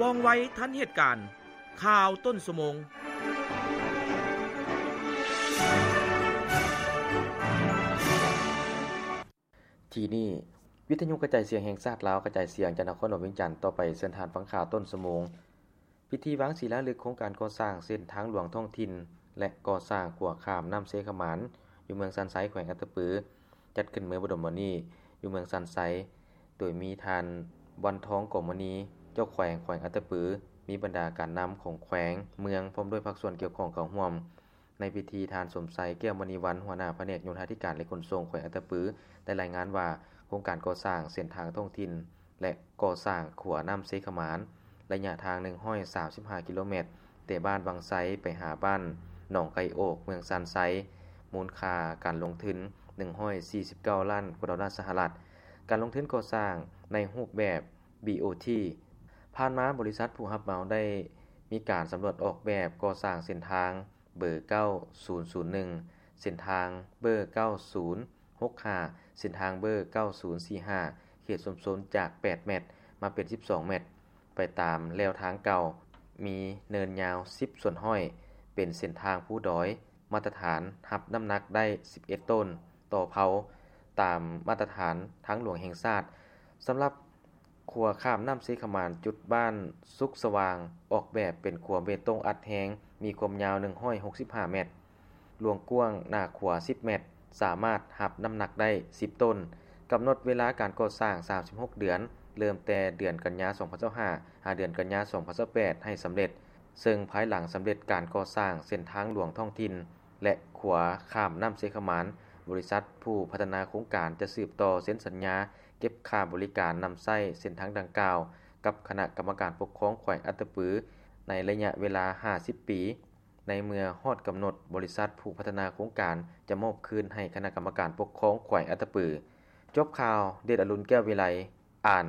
ວ່ອງໄວທັນເຫດການ. ຂ່າວຕົ້ນຊົ່ວໂມງ. ທີ່ນີ້ ວິທະຍຸກະຈາຍສຽງແຫ່ງຊາດລາວ ກະຈາຍສຽງຈາກນະຄອນຫຼວງວຽງຈັນ. ຕໍ່ໄປເຊີນທ່ານຟັງຂ່າວຕົ້ນຊົ່ວໂມງ. ພິທີວາງສີລາລຶກໂຄງການກໍ່ສ້າງເສັ້ນທາງຫຼວງທ້ອງຖິ່ນ ແລະ ກໍ່ສ້າງຂົວຂ້າມນ້ຳເຊຂະໝານ ຢູ່ເມືອງຊານໄຊ ແຂວງອັດຕະປື ຈັດຂຶ້ນເມື່ອບໍ່ດົນມານີ້ ຢູ່ເມືອງຊານໄຊ ໂດຍມີທ່ານ ວັນທອງ ກອງມະນີ ເຈົ້າແຂວງແຂວງອັດຕະປື, ມີບັນດາການນຳຂອງແຂວງ, ເມືອງ ພ້ອມດ້ວຍພາກສ່ວນກ່ຽວຂ້ອງເຂົ້າຮ່ວມ. ໃນພິທີ ທ່ານ ສົມໄຊ ແກ້ວມະນີວັນ ຫົວໜ້າພະແນກໂຍທາທິການ ແລະ ຂົນສົ່ງແຂວງອັດຕະປື ໄດ້ລາຍງານວ່າ ໂຄງການກໍ່ສ້າງເສັ້ນທາງທ້ອງຖິ່ນ ແລະ ກໍ່ສ້າງຂົວນ້ຳເຊຂະໝານ ໄລຍະທາງໜຶ່ງຮ້ອຍສາມສິບຫ້າກິໂລແມັດ ແຕ່ບ້ານວັງໄຊໄປຫາບ້ານໜອງໄກ່ໂອກ ເມືອງຊານໄຊ ມູນຄ່າການລົງທຶນໜຶ່ງຮ້ອຍສີ່ສິບເກົ້າລ້ານກວ່າໂດລາສະຫະລັດ. ການລົງທຶນກໍ່ສ້າງໃນຮູບແບບ ບີ ໂອ ທີ. ຜ່ານມາ ບໍລິສັດຜູ້ຮັບເໝົາໄດ້ມີການສຳຫຼວດອອກແບບກໍ່ສ້າງເສັ້ນທາງ ເບີເກົ້າສູນສູນໜຶ່ງ ເສັ້ນທາງເບີເກົ້າສູນຫົກຫ້າ ເສັ້ນທາງເບີເກົ້າສູນສີ່ຫ້າ ເຂດຊຸມຊົນຈາກແປດແມັດ ມາເປັນສິບສອງແມັດ ໄປຕາມແລວທາງເກົ່າ, ມີເນີນຍາວສິບສ່ວນຮ້ອຍ ເປັນເສັ້ນທາງພູດອຍ ມາດຕະຖານ ຮັບນ້ຳໜັກໄດ້ສິບເອັດໂຕນຕໍ່ເພົາ ຕາມມາດຕະຖານທາງຫຼວງແຫ່ງຊາດ. ສຳລັບ ຂົວຂ້າມນ້ຳເຊຂະໝານ ຈຸດບ້ານສຸກສະຫວ່າງ ອອກແບບເປັນຂົວເບຕົງອັດແຮງ ມີຄວາມຍາວໜຶ່ງຮ້ອຍຫົກສິບຫ້າແມັດ, ລວງກວ້າງໜ້າຂົວສິບແມັດ, ສາມາດຮັບນ້ຳໜັກໄດ້ສິບໂຕນ. ກຳນົດເວລາການກໍ່ສ້າງສາມສິບຫົກເດືອນ, ເລີ່ມແຕ່ເດືອນກັນຍາສອງພັນຊາວຫ້າ ຫາເດືອນກັນຍາສອງພັນຊາວແປດ ໃຫ້ສຳເລັດ, ເຊິ່ງພາຍຫຼັງສຳເລັດການກໍ່ສ້າງເສັ້ນທາງຫຼວງທ້ອງຖິ່ນ ແລະ ຂົວຂ້າມນ້ຳເຊຂະໝານ, ບໍລິສັດຜູ້ພັດທະນາໂຄງການຈະສືບຕໍ່ເຊັນສັນຍາເກັບຄ່າບໍລິການນຳໃຊ້ເສັ້ນທາງດັ່ງກ່າວ ກັບຄະນະກຳມະການປົກຄອງແຂວງອັດຕະປື ໃນໄລຍະເວລາຫ້າສິບປີ. ໃນເມື່ອຮອດກຳນົດ, ບໍລິສັດຜູ້ພັດທະນາໂຄງການຈະມອບຄືນໃຫ້ຄະນະກຳມະການປົກຄອງແຂວງອັດຕະປື. ຈົບຂ່າວ, ເດດອະລຸນ ແກ້ວວິໄລ ອ່ານ.